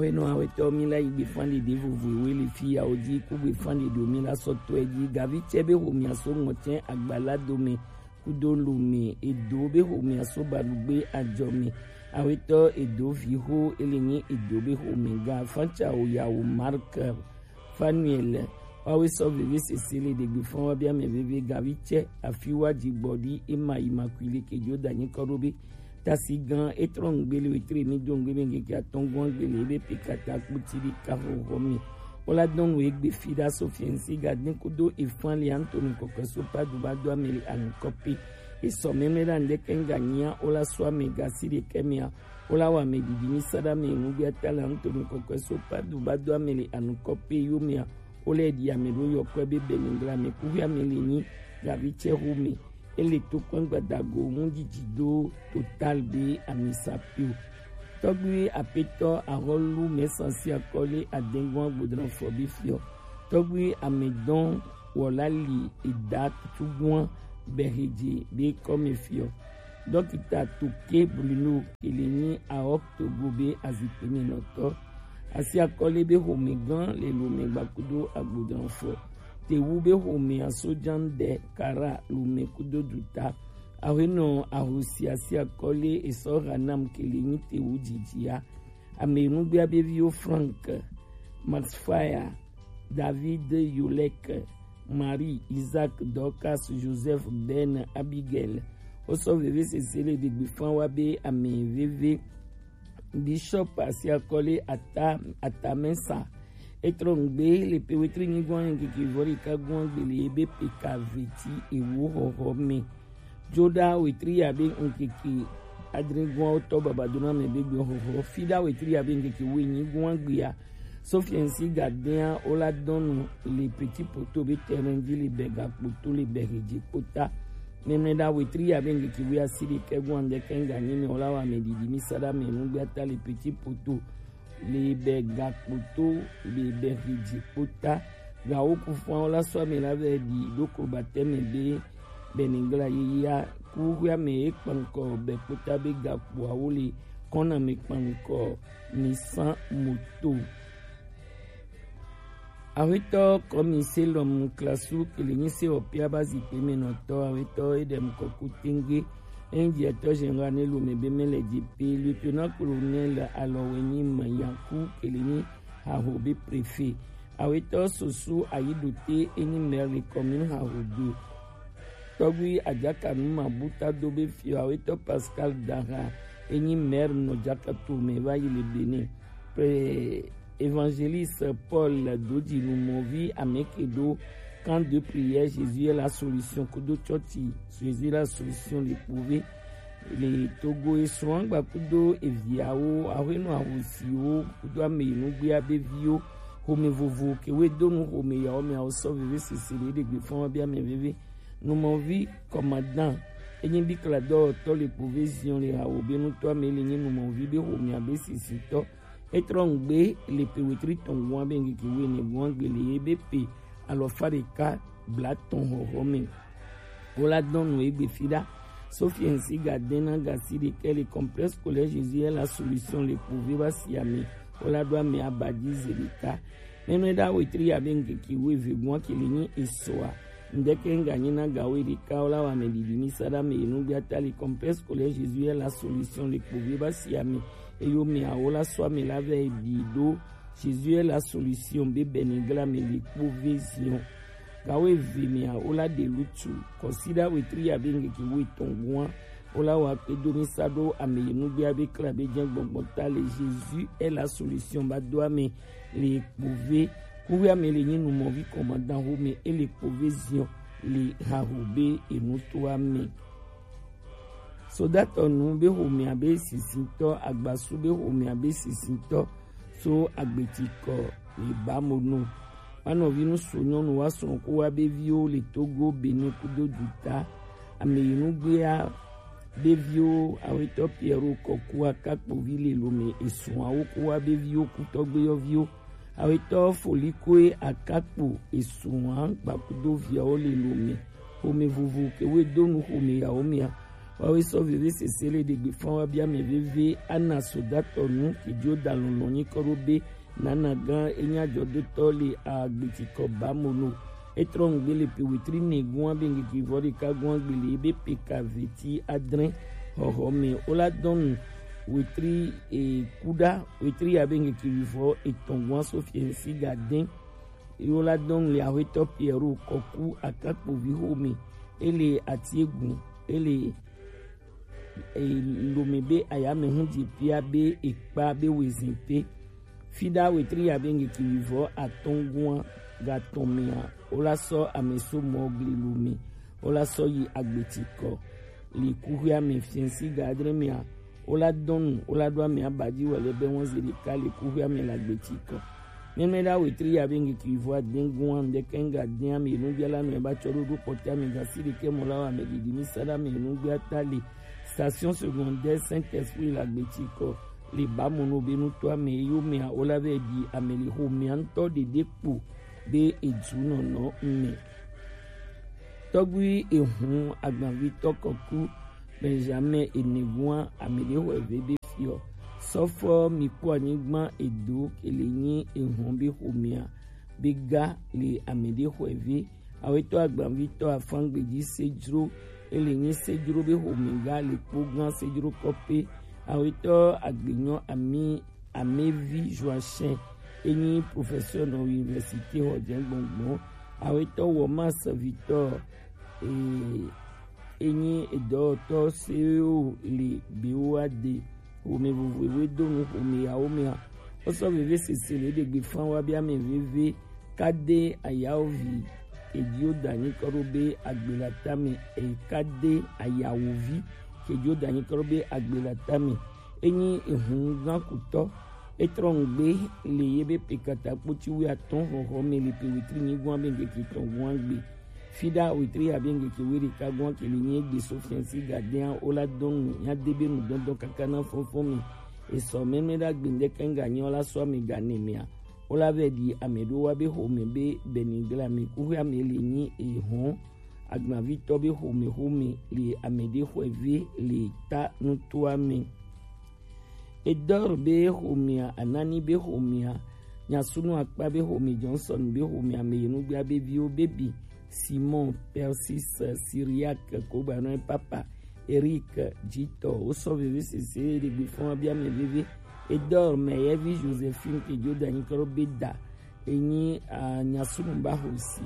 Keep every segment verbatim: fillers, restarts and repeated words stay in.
Enu awetɔ mi la yi gbefan ɖeɖe vovo ewe le fi ya wo dzi ku gbefan ɖeɖe mi la sɔ tɔe dzi. Gavi tsɛ be homia so ŋɔtsɛ agbala dome kudo lome edo be homia so balugbe ajɔ me. Awetɔ edo vi ho ele nyi edo be home ga fantsa o ya o Mark Fanuel. Wawe sɔ veve sese le ɖegbe fɔn wa bia mɛ veve gavi tsɛ afi wa dzi gbɔ ɖi ema yi ma kui le kedzo da nyi kɔ ɖo be tasi gan etrɔ ŋgbe le wetre mi do ŋgbe be ŋkeke atɔn gɔn gbe le ebe pe kata kputi ɖi ka xɔxɔ mi. Wola dɔn nu egbe fi ɖa so fiɛnsi ga den kudo efan le Anthony kɔkɔe so pa du ba do ame le anu kɔpi. Esɔ mɛmɛ ɖa ŋdɛkɛ ŋga nyia wola so ame ga si ɖekɛ mia. Wola wa ame ɖiɖi mi sa ɖa ame nugbe ata le Anthony kɔkɔe so pa du ba do ame le anu kɔpi yo mia. Wola ɖi ame ɖo yɔkɔe be bɛnɛngla me kuhi ame le nyi gavi tsɛ ho me. Ele to kpɛn gbadago mu dzidzi do total be amisa pio. Tɔgbi apetɔ ahɔlu mɛsansi akɔle adɛngɔn agbodran fɔ bi fiɔ. Tɔgbi amedɔn wɔla li eda tutuguan bɛhedze be kɔme fiɔ. Dɔkita Toke Bruno kele nyi aɔk togo be azikpe me nɔtɔ. Asi akɔle be home gan le lome gbakudo agbodran fɔ. Tewu be home asojan ɖe kara lome kudo duta. Awenɔ ahosi asi akɔle esɔ hanam kele nyi tewu dzidzia. Ame nugbea be viwo Frank, Max Fire, David Yolek, Marie, Isaac, Dorcas, Joseph, Ben, Abigail. Wosɔ veve sese le ɖegbe fan wa be ame veve. Bishop asi akɔle ata atamɛsa. Etrɔ ŋgbe le pe wetri nyigɔn ŋkeke vɔ ɖeka gɔn gbele ebe pe ka veti ewo xɔxɔ me. Joɖa wetri ya be ŋkeke adre gɔn wotɔ babadona me be gbe xɔxɔ. Fiɖa wetri ya be ŋkeke wo nyi gɔn gbea. Sofiɛnsi gadea wola dɔnu le Petit Poteau be terrain dzi le bɛ gakpoto le bɛ hedze kpota. Mɛmɛ ɖa wetri ya be ŋkeke wo asi ɖekɛ gɔn ŋdɛkɛ ŋga nyi me wola wa me ɖiɖi mi sa ɖa me nugbe ata le Petit Poteau. Le bɛ gakpoto le bɛ hedze kpota. Gawo kufua wola sɔ ame la vɛ ɖi ɖo ko batɛ me be bɛnɛngla yeyea kuxuia me ye kpankɔ bɛ kpota be gakpoawo le kɔna me kpankɔ mi san moto. Awetɔ kɔmi selɔm klasu kele nyi se ɔpia ba zikpe me nɔtɔ awetɔ edem kɔku tenge. Enyi directeur général ne lome be mele dzi pe lieutenant colonel alɔwe nyi mayanku kele nyi haho be préfet. Awetɔ soso ayidote enyi maire le commune haho do. Tɔgbi Adjaka Numa Buta do be fiɔ awetɔ Pascal Dara enyi maire nɔ Djaka to me va yi le Benin. Pre évangéliste Paul Dodji Numɔvi ameke do camp de prière Jésus est la solution kudo tsɔtsi Jésus est la solution le kpove. Le Togo esrɔ̃ gbakudo eviawo ahuenɔ ahosiwo kudo ame nugbea be viwo home vovo kewe donu home yawo meawo sɔ veve sese le ɖegbe fɔn wa be ame veve. Numɔvi commandant enyi bi kla dɔwɔtɔ le kpove zion le hawo be nutɔ ame le nyi numɔvi be homea be sisitɔ. Etrɔ ŋgbe le pe wetri tɔn gɔn be ŋkeke wene gɔn gbe le ye be pe alɔfa ɖeka blatɔn hɔhɔ me. Wola dɔn nu egbe fiɖa. Sophie ŋsi ga dena gasi ɖekɛ le complexe scolaire Jésus est la solution le kpove ba si ame. Wola ɖo ame abadzi ze ɖeka. Mɛmɛ ɖa wetri ya be ŋkeke weve gɔn kele nyi esɔa. Ŋdɛkɛ ŋga nyi na gawo ɖeka wola wa ame ɖiɖi mi sa ɖa me enugbe ata le complexe scolaire Jésus est la solution le kpove ba si ame. Eyo me awo la sɔ ame la vɛ ɖi ɖo Jésus est la solution be bɛnɛgla me le kpove zion. Gawo eve mea wola ɖe lutu kɔsiɖa wetri ya be ŋkeke wo etɔn gɔn wola wa kpe do mi sa ɖo ame yi nugbea be kla be jɛ gbɔgbɔ ta le Jésus est la solution ba do ame le kpove kuwe ame le nyi numɔvi commandant home ele kpove zion le haho be enuto ame. Sodatɔ nu be homea be sisitɔ, agbasu be homea be sisitɔ, so agbetsikɔ le bamonu. Wa nɔvi nu so nyɔnu wa srɔ̃ ko wa be viwo le Togo, Benin kudo duta. Ame yi nugbea be viwo awetɔ Pierrot Kɔkua kakpovi le lome esrɔ̃awo ko wa be viwo kutɔgbe yɔviwo. Awetɔ Folikoe Akakpo esrɔ̃a gbakudo viawo le lome. Home vovo kewe donu home yawo mea. Wawe sɔ veve sese le ɖegbe fɔn wa bia mɛ veve ana sodatɔ nu kejo da lɔlɔ nyi kɔ ɖo be nana gan enya jɔdotɔ le agbeti kɔ ba mono. Etrɔ ŋgbe le pe wetri ne gua be ŋgeki vɔ ɖeka gua gbe le ebe pe ka veti adre hɔhɔ me. Ola dɔnu wetri e kuda wetri ya be ŋgeki vɔ etɔn gua so fiɛnsi ga den. Ye wola dɔn le Aƒetɔ Pierre Kɔku Akakpovi xome. Ele Atiegun, ele e, Lome be ayame hu dzi pia be ekpa be wezin te. Fida wetri ya be ŋgeki wivɔ atɔngua gatɔn mea, wola sɔ ame so mɔ gli Lome, wola sɔ yi agbeti kɔ. Le kuxia me fiɛnsi ga adre mea, wola dɔnu, wola ɖo ame abaji wɔ le be wɔn zi ɖeka le kuxia me le agbeti kɔ. Mɛmɛ ɖa wetri ya be ŋgeki vɔ aden gua ŋdɛkɛ ŋga den ame nu bia la nɔ eba tsɔ ɖo ɖo kpɔtɛ ame gasi ɖekɛ mɔ la wa ame didi mi sa ɖa ame nu gbia ta le station secondaire Saint-Esprit le agbeti kɔ le ba mɔ no be nutɔ ame yo mea wola vɛ di ame le xo mea ŋtɔ ɖeɖe kpo be edu nɔnɔ me. Tɔgbui ehun agbavitɔ kɔku Benjamin Enegua ame ɖe xɔ eve be fiɔ. Sɔfɔ mi kpɔ anyigba edo ele nyi ehun be xomea be ga le ame ɖe xɔ eve. Awetɔ agbavitɔ afangbeji sejro ele nyi sejro be xome ga le kpo gan sejro kɔpe. Awetɔ agbenyɔ ami Amevi Joachim enyi professeur nɔ université xɔ jɛ gbɔngbɔn. Awetɔ wɔ ma serviteur e enyi edɔwɔtɔ sewo le bewo ade xome vovovowo do nu xome yawo mea. Wosɔ veve sese le ɖegbe fan wa be ame veve kade ayawovi kedio danyi kɔ ɖo be agbe la tame e kade ayawovi kedio danyi kɔ ɖo be agbe la tame. Enyi ehun gan kutɔ. Etrɔ ŋgbe le ye be pe kata kpoti wi atɔn xɔxɔ me le pe wetri nyi gua be ŋgeke tɔn gua gbe. Fida wetri ya be ŋgeke weri ka gua ke le nyi egbe so fiansi gadea wola dɔn nu nya de be nu dɔndɔn kaka na fɔnfɔn me. Esɔ mɛmɛ ɖa gbe ŋdɛkɛ ŋga nyi wola sɔ ame ga ne mea. Wola vɛ ɖi ame ɖo wa be xome be bɛni gla me kuxi ame le nyi ehɔn agbavitɔ be xome xome le ame ɖe xɔe ve le ta nutoa me. Edɔr be xomea, Anani be xomea, Nyasunu Akpa be xome, Johnson be xomea, ame yenugbea be viwo be bi, Simon, Persis, Syriac, Kogbanɔe Papa, Eric, Jitɔ, wosɔ veve sese ɖe gbe fɔn bia ame veve. Edɔr mɛ yevi Josephine ke Jordan kɔ be da, enyi a nyasunu ba xosi.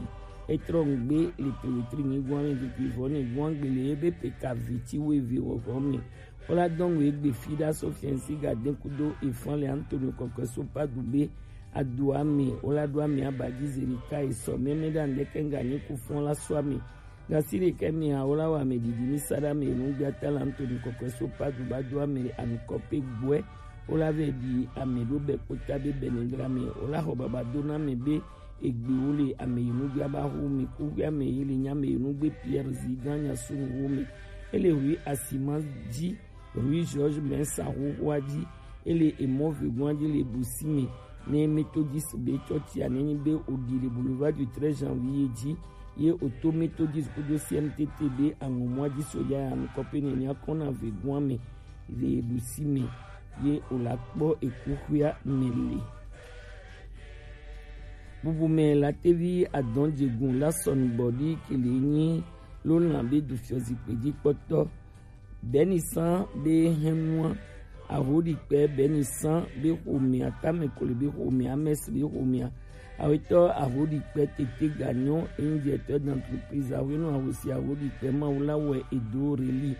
Etrɔ ŋgbe le pe wetri nyi guan me keke vɔ ne guan gbe le ebe pe ka veti wo eve wɔvɔ me. Wola dɔn wo egbe fi ɖa so fiɛnsi ga den kudo efan le Antonio kɔkɔe so pa du be adu ame wola do ame aba ji zeri ka esɔ mɛmɛ ɖa ŋdɛkɛ ŋga nyi ku fɔn la so ame. Gasi ɖekɛ mea wola wɔ ame didi mi sa ɖa ame nu gbia ta la Antonio kɔkɔe so pa du ba do ame anukɔ pe gbɔɛ. Wola vɛ ɖi ame ɖo bɛ kpota be bɛ ne gra me. Wola xɔ baba do na ame be egbe wo le ame yi nu gbia ba xo me ku gbia me yi le nya me yi nu gbe Pierre zi gan nya sunu wo me. Ele hui asima ji, hui George Mensa xoxoa ji. Ele emɔ vegoa ji le busi me. Ne Methodist be tsɔtsia ne nyi be odi le boulevard du treize janvier ji. Ye oto Methodist kudo C M T T be aŋɔmɔa ji soja ya nukɔ pe ne nya kɔna vegoa me le busi me. Ye wola kpɔ ekuxia me le. Bubu me la tevi adɔn jegun la sɔnu bɔdi kele nyi lo lan be du fiɔ zikpe ji kpɔtɔ. Bɛnisan be hɛnua, ahodikpɛ Bɛnisan be xomea, Tamekole be xomea, Amɛsi be xomea, awetɔ ahodikpɛ tete ganyɔ enyi directeur d'entreprise ahwenu ahosi ahodikpɛ mawu la wɛ edo reli.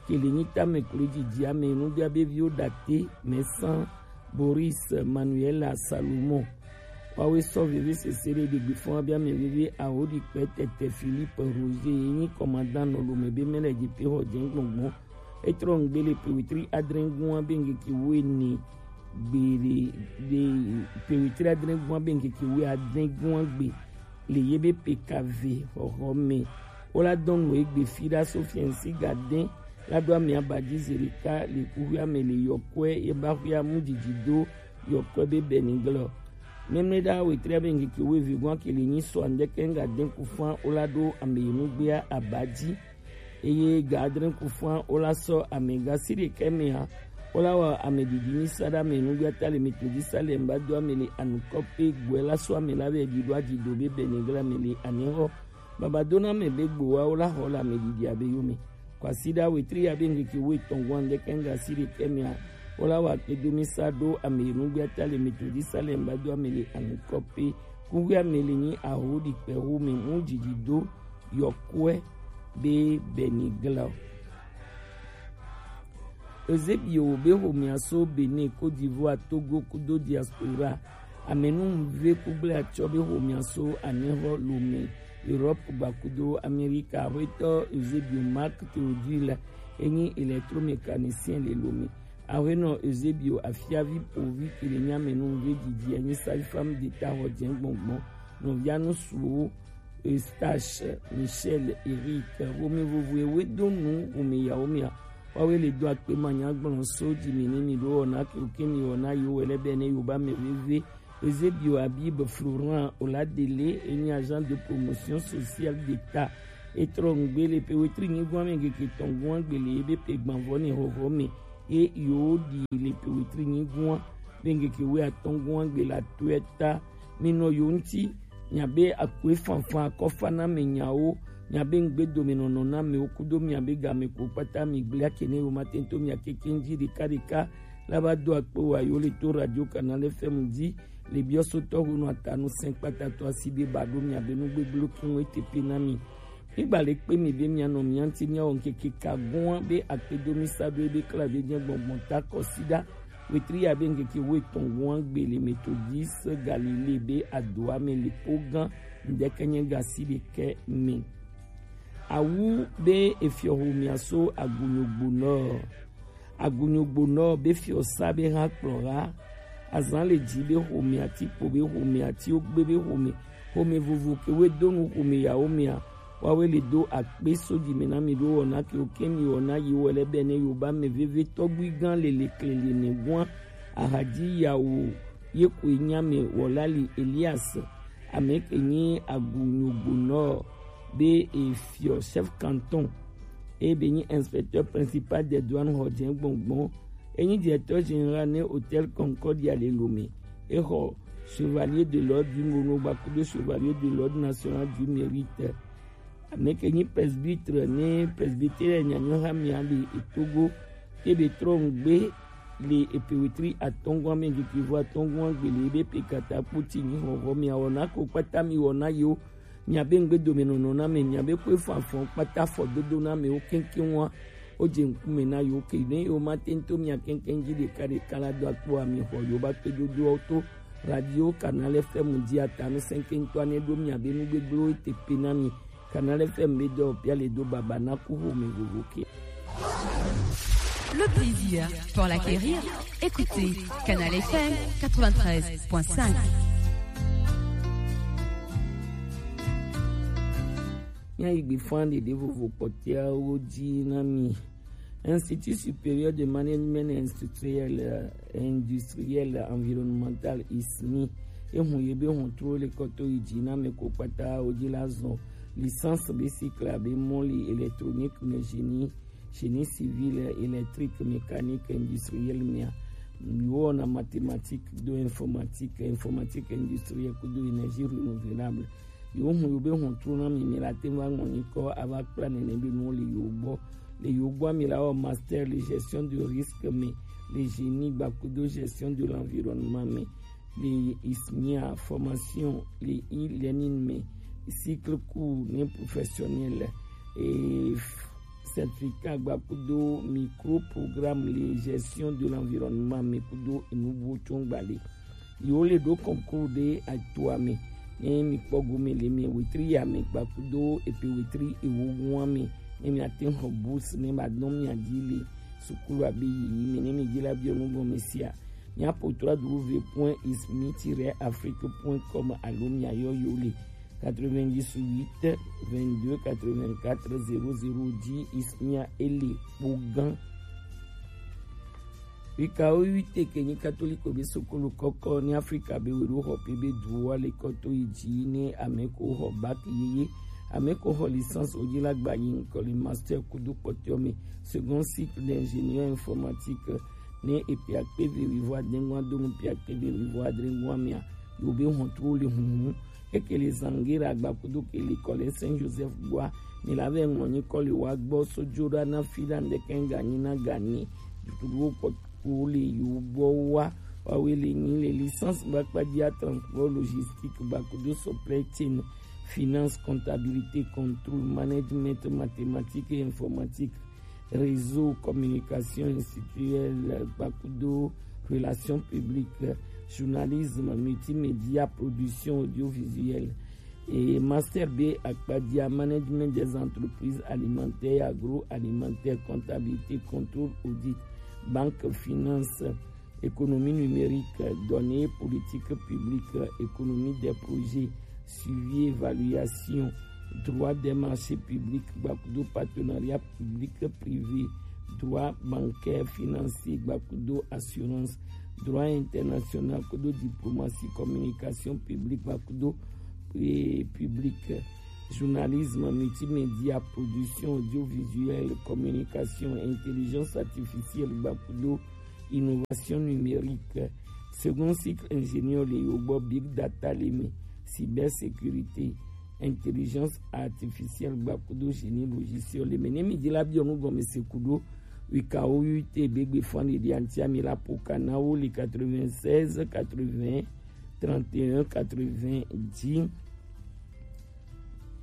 Kele nyi Tamekole jiji ame nu bia be viwo date mɛsan Boris Manuela Salomon. Wawe sɔ veve sese ɖe ɖegbe fɔn abia mɛ veve awo ɖi kpɛ tɛtɛ Philippe Roger ye nyi kɔmandan nɔ lome be mɛ lɛ dzi pe xɔ jɛn gbɔngbɔn. Etrɔ ŋgbe le pewetri adre gua be ŋkeke wo ene gbe le le pewetri adre gua be ŋkeke wo adre gua gbe le ye be pekave xɔxɔ mɛ. Wola dɔn nu egbe fi ɖa so fiɛnsi ga dɛn la do ame aba dzi zi ɖeka le kuxia me le yɔkɔe ye ba xia mu dzidzi do yɔkɔe be bɛni glɔ. Mɛmlɛ ɖa wetri abe ŋkeke wo evi gua ke le nyi sɔ andɛkɛ ŋga dɛn ku fan wola ɖo ame yi nugbea aba dzi. Eye ga adre ku fua wo la sɔ ame ga si ɖekɛ mea, wo la wa ame ɖiɖi mi sa ɖe ame nugbe ata le mi to dzi sa le ŋba do ame le anukɔ pe gbɔe la sɔ ame la be ɖi ɖo adzi do be bɛ ne gla ame le anehɔ. Baba do na ame be gbowa wo la xɔ le ame ɖiɖi abe yome. Kwasiɖa wetri ya be ŋkeke wo etɔn gɔn ɖekɛ ŋga si ɖekɛ mea, wo la wa kpe do mi sa ɖo ame nugbe ata le mi to dzi sa le ŋba do ame le anukɔ pe. Kuxi ame le nyi aho ɖi kpe ho me mu ɖiɖi do yɔkuɛ be bɛ ni gla o. Eusebio be xomea so Benin, Côte d'Ivoire, Togo kudo diaspora. Amenuve kugble atsɔ be xomea so anehɔ Lomé, Europe gba kudo Amérique. Axwetɔ Eusebio Marc Théodule enyi électromécanicien le Lomé. Axwenɔ Eusebio afiavi povi ke le nyi amenuve didi enyi sage-femme d'État xɔ jɛ gbɔngbɔn. Nɔvia nusuwo Eustache, Michel, Eric, Romi vovo ewe do nu Romi yawo mia. Wawe le do akpe ma nya gblɔ so di mi ni mi ɖo wɔna ke mi wɔna yo wɛlɛ bɛ ne yo ba mɛ veve. Eusebio, Habib, Florent, Oladele, enyi agent de promotion sociale d'État. Etrɔ ŋgbe le pe wetri nyi gwan me geke tɔn gwan gbele ebe pe gbanvɔ ne hoho me. Ye yo di le pe wetri nyi gwan be geke we atɔn gwan gbele atuɛ ta. Mi nɔ yo ŋti, miabe akue fanfan akɔfa na mi nyawo, miabe ŋgbedomenɔnɔ na miwo kudo miabe game ko kpata mi gblea ke ne yo ma tento mia keke ŋdzi ɖeka ɖeka la va do akpe wa yo le to Radio Canal F M dzi le biɔsotɔ honu atanu sɛn kpata to asi be ba ɖo miabe nugbegblẽ ko ŋu etepe na mi. Migba le kpe mi be mianɔ mia ŋti miawɔ ŋkeke ka gɔn be akpedo mi sa ɖo ebe kla ve jɛ gbɔngbɔn ta kɔsiɖa. Wetri ya be ŋkeke wo etɔn gɔn gbele metodis Galilée be adoa me le po gã ŋdɛkɛ nyɛ gasi ɖekɛ me. Awu be efiɔ ho mia so agunyogbonɔ. Agunyogbonɔ be fiɔ sa be hã kplɔ ha. Azan le dzi be xome ati kpo be xome ati ogbe be xome xome vovo ke we do nu xome yawo mia. Wawe le do akpe so dzi me na mi ɖo wɔna ke wo ke mi wɔna yi wɔ lɛ bɛ ne yo ba mɛ veve tɔgbui gã lele klele ne gua. Ahadzi yawo ye koe nya me wɔla li Elias. Ame ke nyi agunyogbonɔ be efiɔ chef canton. Eye be nyi inspecteur principal des douanes xɔ dze gbɔngbɔn. Enyi directeur général ne Hôtel Concordia le Lomé. Exɔ chevalier de l'ordre du Mono gbakudo chevalier de l'ordre national du mérite. Ame ke nyi presbytre ne presbytere nyanyɔ ha mia le etogo. Ebe trɔ ŋgbe le epewetri atɔngua me geke vo atɔngua gbele ebe pe kata kpoti nyi xɔxɔ mia wɔna ko kpata mi wɔna yo. Miabe ŋgbedomenɔnɔ na me, miabe kue fanfan kpata fɔdodo na me wo keŋkeŋ wa. Wo dze ŋkume na yo ke ne yo ma tento mia keŋkeŋ dzi ɖeka ɖeka la do akpo ami xɔ yo ba kpe dodoawo to Radio Canal F M dzi atanu sɛŋkeŋtɔ ne ɖo miabe nugbegblẽwo teƒe na mi. Canal F M be dɔ pia le do baba na ku xome vovo ke. Le plaisir pour l'acquérir, écoutez Canal F M quatre-vingt-treize point cinq. Míayi gbe fã ɖeɖe vovo kpɔtɔeawo dzi na mi. Institut Supérieur de Management Industriel, euh, Industriel Environnemental, I S M I, ehun ye be hun tro le kɔto yi dzi na me ko kpata wo dzi la zɔn licence be cycle abe mɔli électronique me, génie, génie civil, électrique, mécanique, industriel mea. Yo wɔna mathématique do informatique, informatique industrielle kudo énergie renouvelable. Yo hun yo be hun tro na mi mi la te va ŋɔ nyikɔ ava kpla nene be nu le yo gbɔ. Le yo gbɔ mi la wɔ master le gestion de risque me, le génie gbakudo gestion de l'environnement me, le I S M I a formation le e-learning me, cycle court ne professionnel, et certificat gbakudo micro programme le gestion de l'environnement me kudo enubuwo tso gbale. Yewo le ɖo concours ɖe atoa me. Ne mi kpɔ gome le mi wetri ya me gbakudo epe wetri ewo gua me. Ne mi ate xɔ bourse ne ba dɔn mi adi le sukulu abe yi me ne mi dzi la biɔ nu gɔme sia. Mia po trois W point ismi tiret afrique point com alo mia yɔ yo le quatre-vingt-dix-huit vingt-deux quatre-vingt-quatre zéro zéro dix ismia ele kpo gan. Wikawo wite ke nyi katoliko be sokolo kɔkɔ ni Afrika be weɖo xɔ pe be duwa le kɔto yi dzi ne ame ko xɔ baki yeye. Ame ko xɔ licence o ji la gba yi ŋkɔ le master kudo kpɔtɔ me, second cycle d'ingénieur informatique, ne e pe akpe ve wivo adengua do nu pe akpe ve wivo adengua mea, yo be hɔn tro le hunhun. Eke le Zangera gba kudo ke le kɔ le Saint Joseph gboa, mi la ve ŋlɔ nyi kɔ le wa gbɔ so jo ɖa na fi ɖa ŋdeke ŋga nyi na ga ni. Dudu wo kpɔ ko le yo gbɔ wa, wa we le nyi le licence ba kpa dia transport logistique ba kudo supply chain, finance, comptabilité, contrôle, management, mathématiques et informatique, réseau, communication institutionnelle, ba kudo relations publiques, journalisme, multimédia, production audiovisuelle. Et master B akpadia, management des entreprises alimentaires et agroalimentaires, comptabilité, contrôle, audit, banque, finance, économie numérique, données, politique publique, économie des projets, suivi, évaluation, droit des marchés publics, ba kudo partenariat public privé, droit bancaire financier, ba kudo assurance, droit international, kudo diplomatie, communication publique, ba kudo, eh, publique, journalisme, multimédia, production audiovisuelle, communication, intelligence artificielle, ba kudo innovation numérique. Second cycle ingénieur le yo gbɔ, big data le mi, cybersécurité, intelligence artificielle, ba kudo génie logiciel le mi. Ne mi di la biɔ nu gɔme se kudo wika o U T B gbe fan de antia mi la poka na wo le quatre-vingt-seize quatre-vingts trente et un quatre-vingts dix.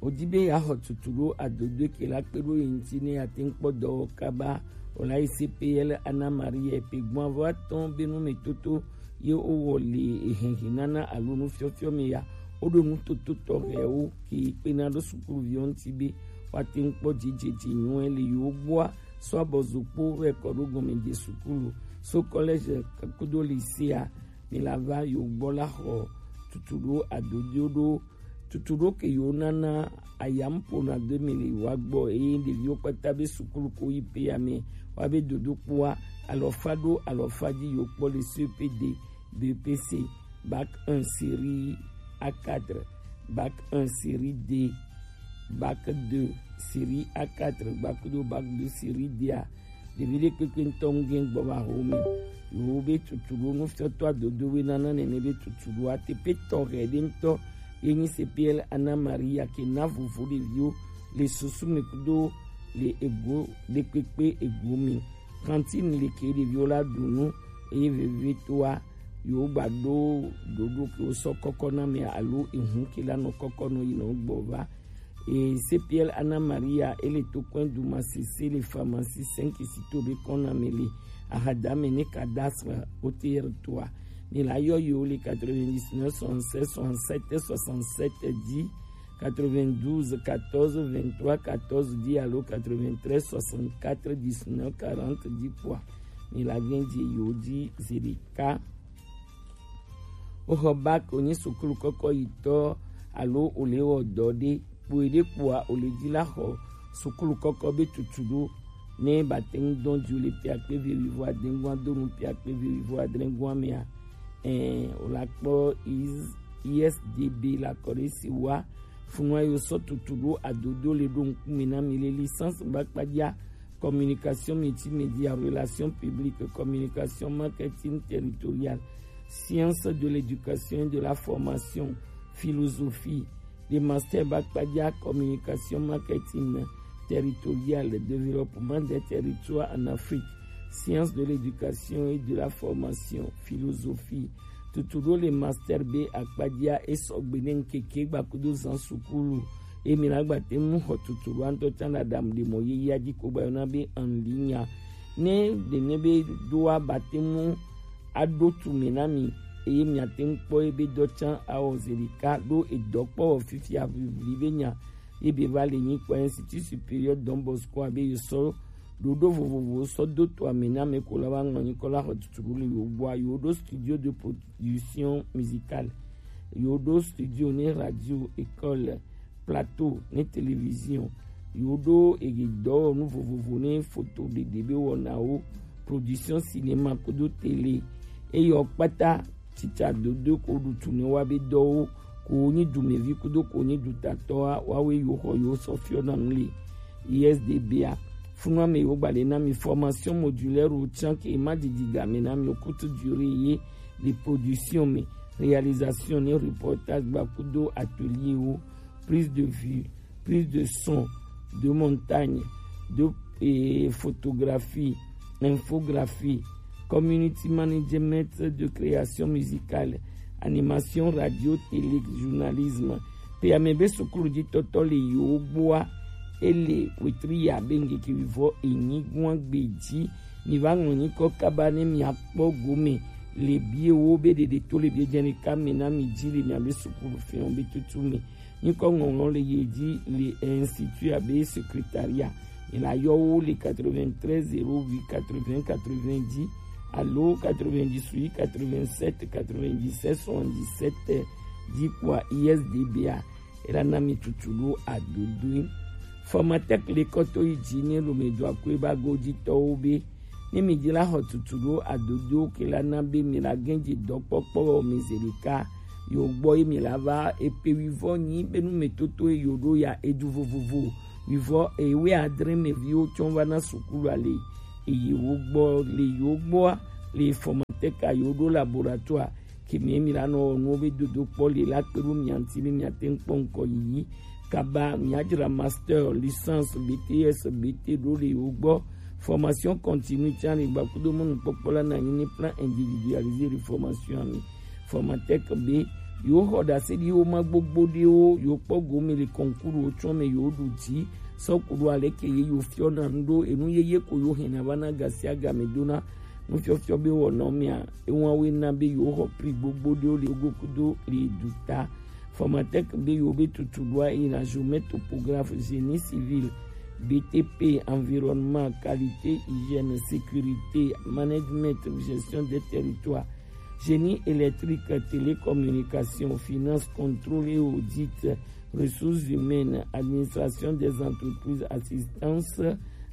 Wodi be yeaxɔ tutu ɖo adodoe ke la kpe ɖo ye ŋuti ne yeate ŋu kpɔ dɔwɔ kaba. Wòla yi C P L Anna Maria epe gbɔn avɔ atɔ̃ be numetoto ye wowɔ le ehenhenana alo nufiɔfiɔ me ya. Woɖo nutoto tɔxɛwo ke kpena ɖo sukuluviwo ŋuti be woate ŋu kpɔ dzidzedze nyuie le yewo gbɔa, so abɔzokpo vɛ kɔ ɖo gɔmedze sukulu, so collège kudo lycée a, mi la va yewo gbɔ la xɔ tutu ɖo adodoe ɖo tutu ɖo ke yewo nana ayampo na do mi le yewoa gbɔ, eye ɖeviwo kpata be sukulu ko yi pe ame wa be dodokpoa alɔfa ɖo alɔfa dzi yewo kpɔ le C P D, B P C, bac un série A quatre, bac un série D, bac deux série A quatre, bac do bac deux série D a. Ɖevi ɖe kpekpe ŋutɔ ŋgɛ gbɔ va ho mi. Yewo be tutu ɖo nufiɔtɔ adodo be nana nene be tutu ɖo ateƒe tɔxɛ ɖe ŋutɔ ye nyi C P L Anna Maria ke na vovo ɖeviwo le susu me kudo le ego ɖe kpekpe ego me. Cantine le ke ɖeviwo la ɖu nu eye vevie toa yewo gba ɖo ɖoɖo ke wosɔ kɔkɔ na me alo ehu ke la nɔ kɔkɔ nɔ yi nɔ gbɔ va. Et C P L Anna Maria, ele to coin du Massissé, le pharmacie cinq sito be kɔna me le ahadame ne cadastre O T R trois. Ne la yɔ yo le quatre-vingt-dix-neuf soixante-seize soixante-sept soixante-sept dix, quatre-vingt-douze quatorze vingt-trois quatorze dix alo quatre-vingt-treize soixante-quatre dix-neuf quarante dix kpɔa. Ne la vɛn di yo di zerika. Woxɔ bac wonyi sukulu kɔkɔ yitɔ alo wole wɔ dɔ ɖe kpo ɖe kpoa wole dzi la xɔ sukulu kɔkɔ be tutu ɖo ne bate ŋu dɔn dzi le pia kpe ve wivo adengua do nu pia kpe ve wivo adrengua mea, ɛ wòla kpɔ I S D B la kɔ ɖe si wa funua yo sɔ tutu ɖo adodo le ɖo ŋkume na mi le licence gbakpadza communication multimédia, relations publiques, communication marketing territorial, sciences de l'éducation et de la formation, philosophie, le master Bakpadia communication marketing territorial, développement des territoires en Afrique, sciences de l'éducation et de la formation, philosophie, tutu ɖo le master be akpadia esɔgbe ne ŋkeke gbakudo zan sukulu. Emi la gbate mu xɔ tutu ɖo antɔ can ɖaɖam ɖe mɔ yeyea dzi ko gbayɔna be en ligne. Ne ɖe ne be ɖoa bate mu aɖo tu me na mi eye miate ŋu kpɔ ebe dɔ can awɔ zi ɖeka ɖo edɔ kpɔ wɔ fifia vivli be nya ebe va le nyi kpɔ Institut Supérieur Don Bosco abe yosɔ ɖoɖo vovovowo sɔ do to ame na ame ko la wa ŋlɔ nyikɔ la xɔ tutu ɖo le yewo gbɔa yewo ɖo studio de production musicale, yewo ɖo studio ne radio, école, plateau ne télévision, yewo ɖo ege dɔwɔnu vovovo ne foto ɖeɖe be wɔnawo, production cinéma kudo télé, eye wo kpata tsitsa dodo ko ɖu tu ne wa be dɔwo ko nyi dumevi kudo ko nyi dutatɔ a, wawe yo xɔ yo sɔ fiɔ na nu le I S D B a. Funu ame yo gba le na mi formation modulaire o tian ke ma didi game na mi o courte durée ye le production me, réalisation ne reportage gba kudo atelier o, prise de vue, prise de son, de montagne, de, eh, photographie, infographie, community management de création musicale, animation radio, télé, journalisme. Pe ame be sukulu di tɔtɔ le yo gboa, ele wetri ya be ngeke wivɔ enyi gua gbeji. Mi va ŋlɔ nyikɔ kaba ne mi akpɔ gome le bie wo be ɖeɖe to le bie jɛni ka me na mi ji le mi abe sukulu fɛn be tutu me. Nyikɔ ŋɔŋlɔ le ye ji le institut abe secrétariat. Mi la yɔ wo le quatre-vingt-treize zéro huit quatre-vingts quatre-vingts ji alo quatre-vingt-dix-huit quatre-vingt-sept quatre-vingt-dix-sept soixante-dix-sept ji kua I S D B a. Ela na mi tutu ɖo adodo. Formatec le kɔto yi ji ne lo me do akue ba go ji tɔwo be ne mi ji la xɔ tutu ɖo adodo ke la na be mi la gɛn ji dɔkpɔkpɔ mi ze ɖeka yo gbɔ ye mi la va epe wivɔ nyi be nu me toto ye yo ɖo ya edu vovovo wivɔ ewe adre me viwo tsɔ va na sukulu ale eye wo gbɔ le yo gbɔa le Formatec a yo ɖo laboratoire ke mi mi la nɔ nuwo be dodo kpɔ le la kpe ɖo mia ŋuti be mia te ŋu kpɔ ŋkɔ yiyi kaba mia dzra master, licence, B T S, B T ɖo le wo gbɔ. Formation continue tsã le gbakudo mɔnukpɔkpɔ la na nyi ne plan individualisé de formation ami. Formatec be yo xɔ ɖase ɖi wo ma gbogbo ɖe wo yo kpɔ gome le concours wo tsɔ me yo ɖu dzi sɔ ku ɖo ale ke ye yo fiɔ na nu ɖo enu yeye ko yo hɛn na va na gasiagame dona nufiɔfiɔ be wɔnɔ mia ewa we na be yo xɔ pri gbogbo ɖewo le gogo kudo le du ta. Formatec be yo be tutu ɖoa yi na géomètre topographe génie civil B T P environnement qualité hygiène sécurité management gestion des territoires génie électrique télécommunication finance contrôle et audit ressources humaines administration des entreprises assistance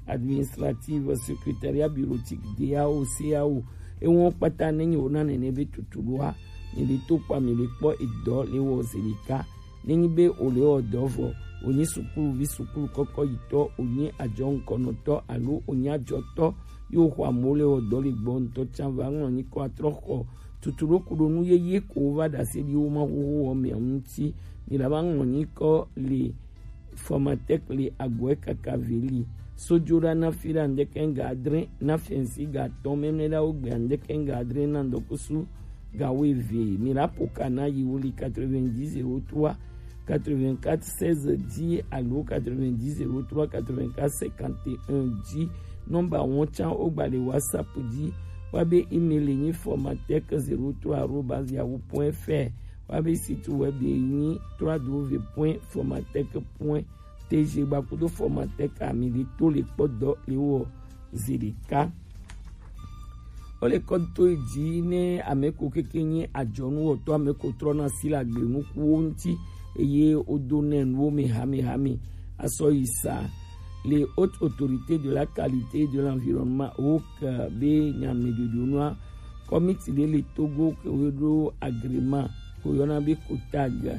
administrative secrétariat bureautique D A O C A O. Ewo kpata ne nyi wo na nene be tutu ɖoa mi le to kpa mi le kpɔ edɔ le wɔ ze ɖeka ne nyi be o le wɔ dɔ vɔ o nyi sukuluvi sukulu kɔkɔ yitɔ o nyi adzɔ ŋkɔnɔtɔ alo o nyi adzɔtɔ yo xɔ amo le wɔ dɔ le gbɔ ŋutɔ tsa va ŋlɔ nyi kɔ atrɔ xɔ tutu ɖo kuɖo nu yeye ko wo va ɖase ɖi wo ma xoxo wɔ mɛ ŋuti mi la va ŋlɔ nyi kɔ le Formatec le agɔe kaka veli. Sojola na fi la ndeke nga adre na fensi ga tɔn mɛmɛ la wo gbe andeke nga adre na ndokusu ga wo eve. Mi la poka na yi wo li quatre-vingt-dix zéro trois quatre-vingt-quatre seize dix alo quatre-vingt-dix zéro trois quatre-vingt-quatre cinquante et un dix. Nɔmba wɔn tsan wo gba le WhatsApp dzi. Wa be email nyi formatec zéro trois arobase yahoo point F R. Wa be site web ye nyi trois W point formatec point T G gba kudo formatec ami le to le kpɔ dɔ le wɔ ze ɖeka. Wo le kɔ to dzi ne ame ko keke nyi adzɔnu wɔtɔ ame ko trɔ na si le agble nukuwo ŋuti eye wodo nɛ nuwo me hamehame asɔ yi sa. Le Haute Autorité de la Qualité et de l'Environnement, haut be nya me ɖoɖo nua kɔmiti ɖe le Togo ke wo ɖo agrément ko yɔna be COTAG.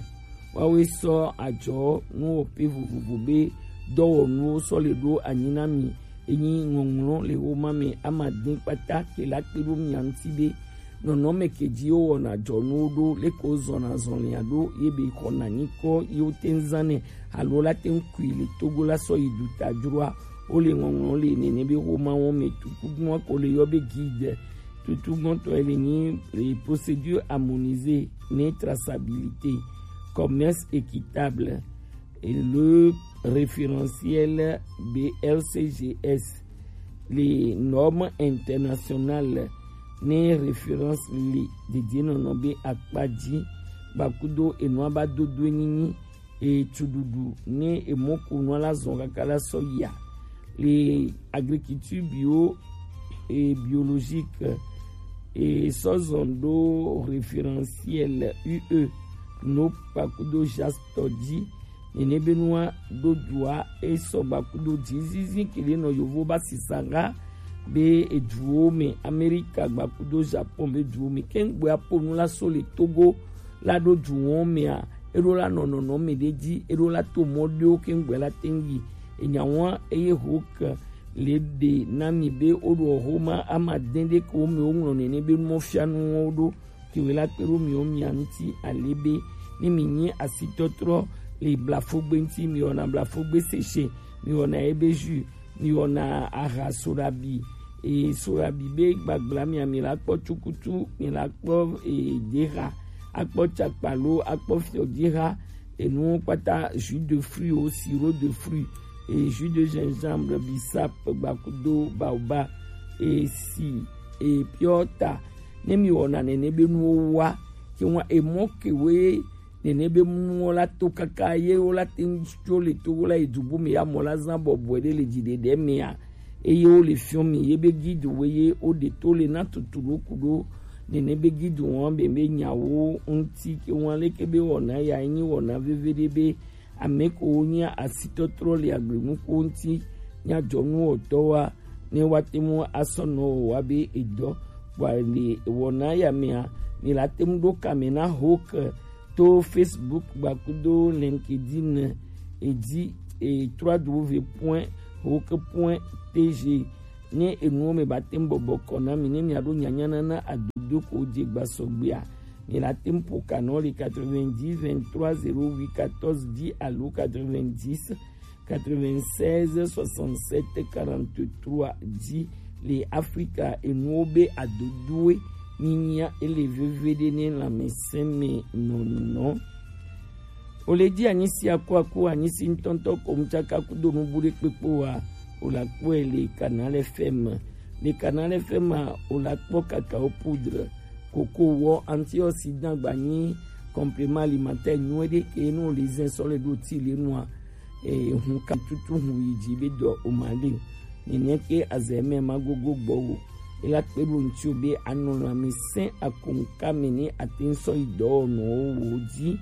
Woawoe sɔ adzɔ nuwɔƒe vovovo be dɔwɔnuwo sɔ le ɖo anyi na mi. Enyi ŋɔŋlɔ le wo ma me ama din kpata ke la kpe ɖo mia ŋuti be nɔnɔme ke dzi wo wɔna adzɔnuwo ɖo leke wo zɔna zɔlia ɖo ye be xɔna nyikɔ ye wo te ŋu zãnɛ alo la te ŋu kui le Togo la sɔ yi duta dzroa. Wo le ŋɔŋlɔ le nene be xoma wɔn me tukugbɔn ko le yɔ be guide. Tutugbɔntɔ ele nyi le procédure harmonisée ne traçabilité, commerce équitable et le référentiel B L C G S, les normes internationales ne référence le dedienɔnɔ be akpa dzi gbakudo enua ba dodo nyinyi e tsuɖuɖu ne emɔkonu la zɔn kaka la sɔ yia le agriculture bio et biologique e sɔ zɔn ɖo référentiel U E no kpakudo JAST tɔ dzi nene be nua ɖo dua e sɔ gbakudo dzizizi kele nɔ yovo ba sisa ga be eduwo me Amerika gbakudo Japon be duwo me kengbe aponu la so le Togo la ɖo duwo mea e ɖo la nɔ nɔnɔme ɖe ji, e ɖo la to mɔ ɖewo kɛŋgbɛ la teŋ yi. Enya wa eye ho ke le ɖe na mi be wo ɖo xoma ama dɛn ɖe ke wo me wo ŋlɔ nɛnɛ be mɔ fia nu wo ɖo ke we la kpe ɖo mi wo mia ŋuti ale be ne mi nyi asitɔtrɔ le blafogbe ŋuti, mi wɔna blafogbe sese, mi wɔna ebe jus, mi wɔna aha soɖabi, e soɖabi be gbagbla mia, mi la kpɔ tsukutu, mi la kpɔ e dexa, akpɔ tsakpalo, akpɔ fiɔ dexa, enuwo kpata, jus de fruit o, sirop de fruit, e jus de gingembre, bissap, gbakudo, baoba, e si, e piɔta. Ne mi wɔna nɛnɛ be nuwo wa, ke wa emɔ ke we nɛnɛ be nuwo la to kaka ye wo la te ŋu tso le to wo la yi du bu me ya mɔ la zã bɔbɔe ɖe le dzi ɖeɖe mea, eye wo le fiɔ mi ye be gidu wo ye wo ɖe to le na tutu ɖo ku ɖo nɛnɛ be gidu wɔn be be nyawo ŋuti ke wɔn leke be wɔna ya nyi wɔna veve ɖe be ame ko wo nya asitɔtrɔ le agble nuko ŋuti nya dzɔnu wɔtɔ wa ne wa te mu asɔ nɔ wa be edɔ wa le wɔna ya mea, mi la te mu ɖo kame na ho ke to Facebook gbakudo LinkedIn edzi, e, trois W point hoke point T G. Ne enuwo me ba tem bɔbɔ kɔ na mi, ne mi aɖo nyanya nana adodo ko dze gba sɔgbea, mi la tem po kanɔ le quatre-vingt-dix, vingt-trois, zéro huit, quatorze, dix alo quatre-vingt-dix, quatre-vingt-seize, soixante-sept, quarante-trois dzi le Afrika enuwo be adodoe nyinyia ele veve ɖe ne lãmesẽ me nɔnɔ. O le dzi anyi si aku aku anyi si ŋutɔŋutɔ ko ŋutsaka kudo nubu ɖe kpekpe wa, o la kpɔe le Canal F M. Le Canal F M a, o la kpɔ cacao poudre, koko wɔ, antioxydant gba nyi complément alimentaire nyuie ɖe ke ne o le zɛ sɔ le ɖo ti le nua, e, hun ka tutu hun yi dzi be dɔ o ma le o. Nene ke azɛ mɛ ma gogo gbɔ wo. E la kpe ɖo ŋuti o be anɔ lãmesẽ akonka me ne ate ŋu sɔ yi dɔwɔnɔwo wo dzi.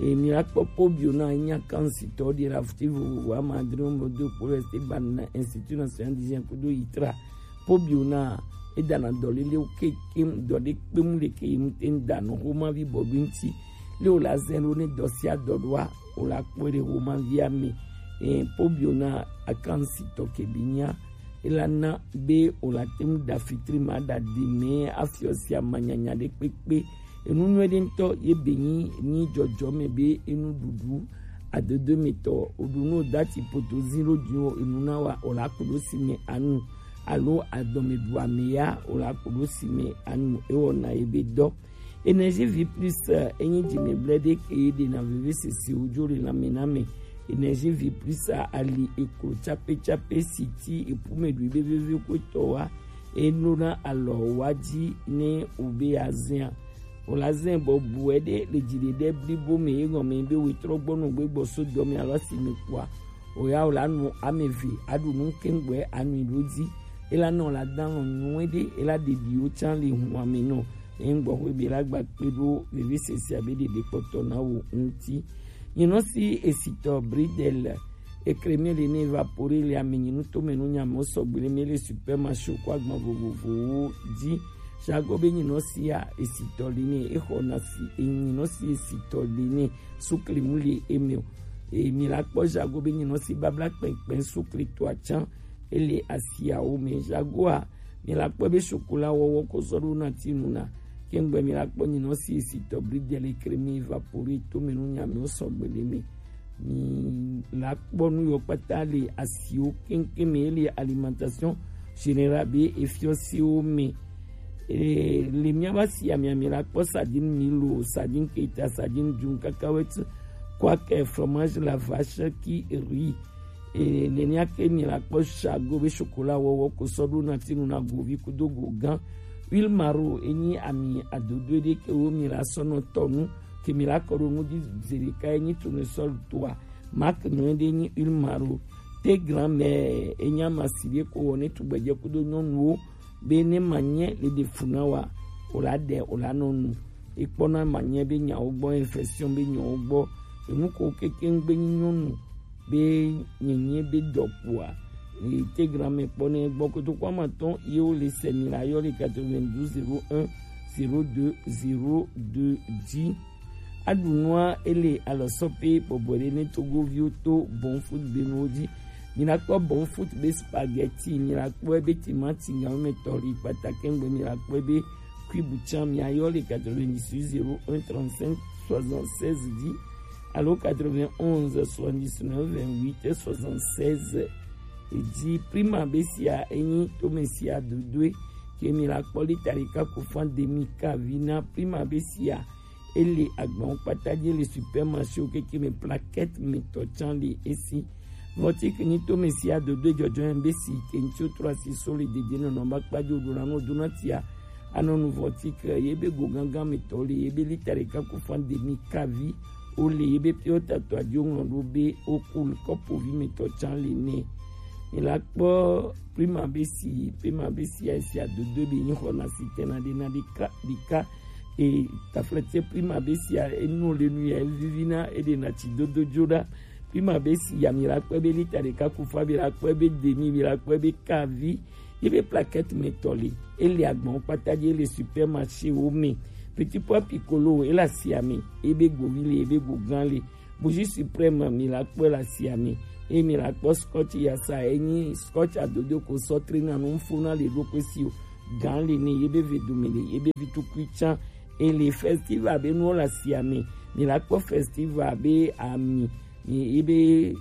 E, mi la kpɔ Pobio na nya kansitɔ ɖi la futi vovovo ama adre mo do kpo le te ba na Institut National d'Hygiène kudo yitra. Pobio na e dana dɔ lele o ke ke dɔ ɖe kpe mu le ke yi mu te ŋu da nɔ xoma vi bɔ ɖo ŋuti. Le o la zɛ ɖo ne dɔ sia dɔ ɖoa, o la kpɔe ɖe xoma via me. E, Pobio na akansi tɔ ke bi nya. E la na be o la te ŋu da fitri ma da di me afiɔ sia ma nyanya ɖe kpekpe. Enu nyuie ɖe ŋutɔ ye be nyi, nyi dzɔdzɔ me be enu ɖuɖu adodo me tɔ. O ɖu no dati poto zi ɖo dzi o enu na wa o la ku ɖo si me anu. Alo adɔmeɖu ame ya o la ku ɖo si me anu. E wɔna ye be dɔ. Énergie Vie Plus, eh, enyi dzimɛgblẽ ɖe ke ɖena veve sese wo dzo le lãme na me. Énergie Vie Plus a, ali eklo tsape tsape si ti epu me ɖui be veve ko tɔ wa. Eno na alɔ wa dzi ne o be ya zɛa. O la zɛ bɔ bu ɛ ɖe le dzi ɖe ɖe blibo me ye gɔme be we trɔ gbɔ nɔ gbe gbɔ so dɔ me alo asi me kua. O ya o la nu ame eve aɖu nu keŋgbɛ anui ɖo dzi. E la nɔ la dan lɔ nyuie ɖe, e la ɖeɖi wo tsan le hun ame nɔ. Ye ŋgbɔ xwe be la gba kpe ɖo veve sese abe ɖeɖe kpɔtɔ na wo ŋuti. Nyinɔ si esitɔ Bridel, ekremi le ne évapore le ame nyinu to me nu nya me sɔgbe le me le supermarché ko agban vovovowo dzi. Jago be nyinɔ sia esitɔ le ne exɔ na si, e nyinɔ si esitɔ le ne sukli mu le eme o. E, mi la kpɔ Jago be nyinɔ si babla kpɛnkpɛn sukli to atsan ele asiawo me. Jagoa, mi la kpɔ be sokola wɔwɔ ko sɔ ɖo na ti nu na. Kɛŋgbɛ mi la kpɔ nyinɔ si esitɔ Bridel ekremi évapore to me nu nya me sɔgbe le me. Mi la kpɔ nu yɔ kpata le asiwo keŋkeŋ me, ele alimentation générale be efiɔsiwo me. E, le miaba si amia mi la kpɔ sardine Milo, sardine Keita, sardine Dune, cacahuète, quaker, fromage la vache qui rit. E, nenia ke mi la kpɔ Jago be chocolat wɔwɔ ko sɔ ɖo na ti nu na govi kudo go gan. Huile maro enyi ami adodo ɖe ke wo mi la sɔ nɔ tɔ nu ke mi la kɔ ɖo nu dzi zeɖeka enyi tournesol toa. Marque nyuie ɖe nyi huile maro. Te grand mère enyi ama si ɖe ko wɔ ne tugbedze kudo nyɔnuwo be ne ma nyɛ le ɖe fu na wa, o la ɖe, o la nɔ nu. Ekpɔna ma nyɛ be nyawo gbɔ, infection be nyawo gbɔ. Enu ko kekeŋ gbe nyi nyɔnu be nyenye be dɔ kpoa, e, te grand mère kpɔ ne gbɔ kotoku ama tɔn ye wo le sɛ mi la yɔ le quatre-vingt-douze zéro un zéro deux zéro deux dzi. Aɖu nua ele alɔsɔ pe bɔbɔ ɖe ne Togoviwo to Bon Foot be nuwo ji. Mi la kpɔ Bon Foot be spaghetti, mi la kpɔ ebe timati gamɛtɔli kpata kɛŋgbɛ, mi la kpɔ ebe cube can, mi ayɔ le quatre-vingt-dix-huit zéro un trente-cinq soixante-seize ji alo quatre-vingt-onze soixante-dix-neuf vingt-huit soixante-seize ji. Prima be sia enyi tome sia dodoe ke mi la kpɔ lita ɖeka kofan demi kavi na. Prima be sia ele agbawo kpata ji, ele supermarché wo keke me, plaquette me tɔ can le esi. Vɔtik nyi tome sia dodoe jɔjɔ yɛn be si ke ŋtsi trɔ asi so le dede nɔnɔ ba kpa jo do la no do na tia. Anɔ nu vɔtik ye be go gangan me tɔ le ye be lita ɖeka kofan demi kavi o le ye be pio tatɔ ajo ŋlɔ ɖo be o kul kɔpo vi me tɔ can le ne. Mi la kpɔ prima be si, prima be si a si adodo be nyi xɔ na si tena de na de ka de ka. E taflete prima be si a enu le nu ya vivi na e de na tsi dodo jo ɖa. Prima be si ya mi la kpɔ be lita ɖeka kufa, mi la kpɔ be demi, mi la kpɔ be kavi. Ye be plaquette me tɔ le, ele agbawo kpata ji, ele supermarché wo me. Petit pois piccolo ele asia me, ebe govi le, ebe gogan le. Bougie suprême mi la kpɔ le asia me. Eye mi la kpɔ scotch yasa, enyi scotch adodo ko sɔ trena nu fo na le ɖo kpe si o. Gan le ne, ye be ve dome le, ye be vi tukui can. Ele festival be nuwo le asia me. Mi la kpɔ festival be ami, mi ebe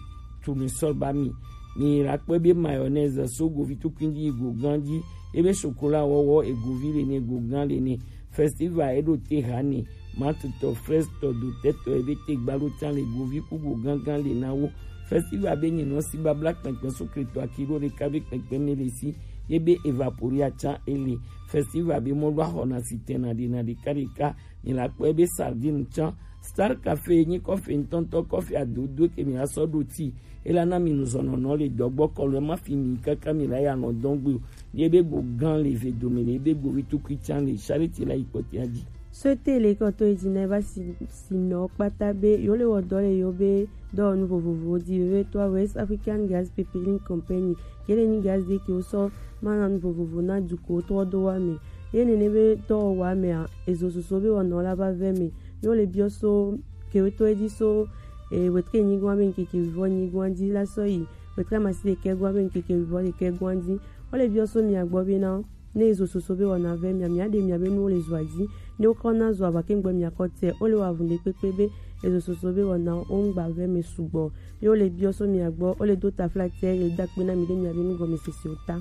tournesol ba mi. Mi la kpɔ ebe mayonnaise so govi tukui ji, gogan ji. Ebe chocolat wɔwɔ egovi le ne, gogan le ne. Festival eɖo te ha ne. Mate tɔ, fraise tɔ, dotɛ tɔ, ebe te gba ɖo can le, govi ku gogangan le na wo. Festival be nyi nɔ si babla kpɛnkpɛn so kletɔ aki ɖo ɖeka be kpɛnkpɛn me le si. Ye be evaporia can ele. Festival be mɔ ɖo axɔ na si tɛn na ɖe na ɖeka ɖeka. Mi la kpɔ ebe sardine can. Star Café nyi kɔfe ŋutɔŋutɔ, kɔfe adodo ke mi la sɔ ɖo ti. Ela na mi nuzɔnɔnɔ le dɔgbɔ kɔlɔ ma fi mi kaka mi la ya nɔ dɔn gbe o. Ye be gogan le ve dome le, ye be govi tukui can le, charité la yi kpɔtia ji. Sete le kɔtɔ yi dzi na eva si, si nɔ kpata be yo le wɔ dɔ le yo be dɔwɔnu vovovowo di, vevitɔ West African Gas Pipeline Company, ke le nyi gas de ke wo sɔ ma na nu vovovo na duko trɔ do wa me. Ye nene be dɔwɔwa mea, ezo soso be wɔnɔ la va vɛ me. Yo le biɔ so ke wo to edzi so, e, wetre nyigɔn be nkeke vivɔ nyigɔn dzi la sɔ yi wetre amasi ɖekɛ gɔn be nkeke vivɔ ɖekɛ gɔn dzi. Wo le biɔ so mia gbɔ be na ne ezo soso be wɔna vɛ mia, mia ɖe mia be nuwo le zɔa dzi. Ne wokɔ na zɔa va ke ŋgbɔ mia kɔ tɛ, wo le wa vun ɖe kpekpe be ezo soso be wɔna wo ŋgba vɛ me sugbɔ. Ye wo le biɔ so mia gbɔ, wo le do tafla tɛ, ye le da kpe na mi ɖe mia be nugɔmesese o ta.